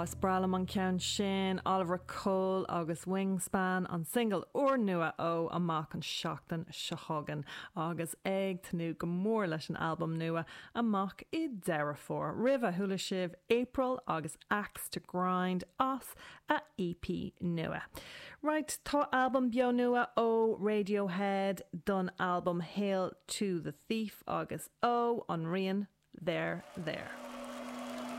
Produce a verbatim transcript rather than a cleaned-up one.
Is breá liom an ceann sin Oliver Cole agus Wingspan an single úrnua ó amach an seachtain seo chugainn agus ag tnúth go mór leis an albam nua amach i Deireadh Fómhair. Roimhe chuala sibh April agus Axe to Grind as a EP nua. Right, tá albam beo nua ó Radiohead don albam Hail to the Thief agus ó an rian there there.